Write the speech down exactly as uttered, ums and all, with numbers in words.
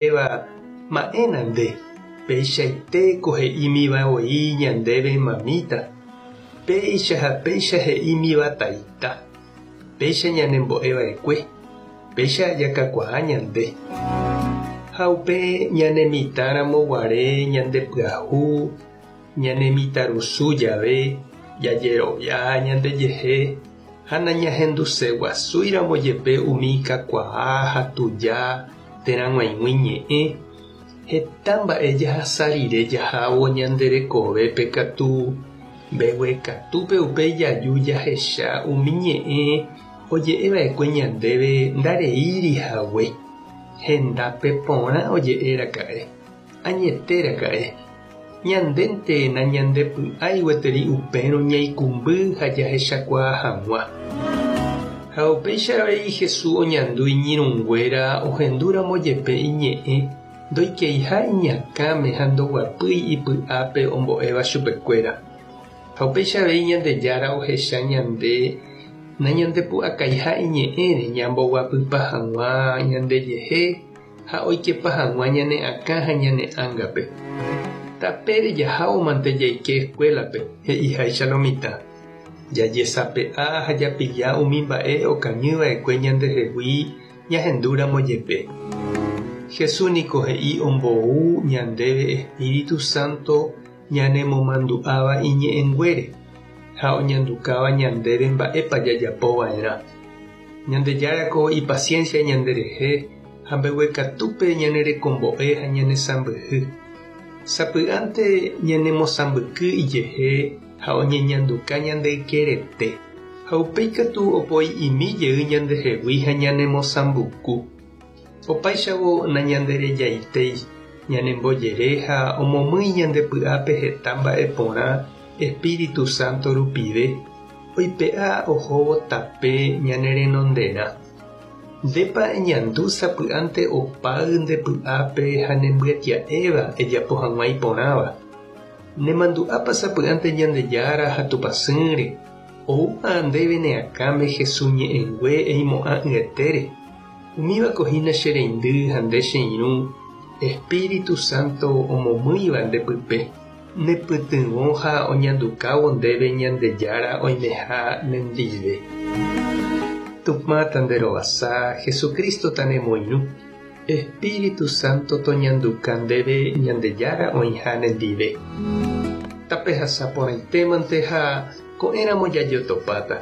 Ma'ẽna nde, peichaitéko he'ímivavoi ñandéve mamíta, péicha ha péicha he'ímiva taita, péicha ñanembo'eva'ekue, péicha jakakuaa ñande. Ha upe ñanemitãramo guare ñandepyahu, ñanemitãrusu jave, jajerovia ñandejehe ha nañahenduseguasúiramo jepe umi kakuaa ha tuja térã g̃uaig̃ui ñe'ẽ, heta mba'e jahasa rire jahávo ñande rekovépe katu mbeguekatúpe upéi jaju jahecha umi ñe'ẽ oje'eva'ekue ñandéve ndareírihague, hendápe porã oje'éraka'e, añetéraka'e, ñandénte nañandepy'ái gueteri upérõ ñaikũmby ha jahechakuaa hag̃ua. Ha upéicha avei Jesús oñandu iñirũnguéra ohendúramo jepe iñe'ẽ ndoikeiha iñakãme ha ndoguapýi ipy'ápe ombo'éva chupekuéra. Ha upéicha avei Ñandejára ohecha ñande nañandepu'akaiha iñe'ẽre ñamboguapypa hag̃ua ñandejehe ha oikepa hag̃ua ñane akã ha ñane ángape. Tapére jahávo mante jaike escuela-pe he'iháicha lo mitã. Jajesape'a ha japilla umi mba'e okañyva'ekue ñandehegui ñahendúramo jepe. Jesús niko he'i ombou ñandéve Espíritu Santo ñanemomandu'áva iñe'ẽnguére ha oñandukáva ñandéve mba'épa jajapova'erã. Ñandejárako ipaciencia ñanderehe ha mbeguekatúpe ñanerekombo'e ha ñanesãmbyhy. Sapy'ánte ñanemosãmbyky ijehe ha oñeñanduka ñandeykerete ha upéikatu opoi'imi jey ñandehegui ha ñanemosãmbuku. Opáichavo nañanderejaitéi, ñanembojere ha omomýi ñandepy'ápe heta mba'e porã Espíritu Santo rupive oipe'a ohóvo tape ñane renonderã. Ndépa eñandu sapy'ánte opáy ndepy'ápe ha nembyetia'éva ejapo hag̃ua iporãva. Nemandu'ápa sapy'ánte Ñandejára ha Tupãsýre oúma ndéve ne akãme Jesús ñe'ẽngue eimo'ã'ỹetére. Umívako hína che reindy ha nde che irũ Espíritu Santo omomýiva ndepype nepytyvõ ha oñandukávo ndéve Ñandejára oimeha nendive. Tupã tanderovasa, Jesucristo tanemoirũ, Espíritu Santo toñanduka ndéve Ñandejára oĩha nendive. Tapehasa porãitémante ha ko'ẽramo jajotopáta.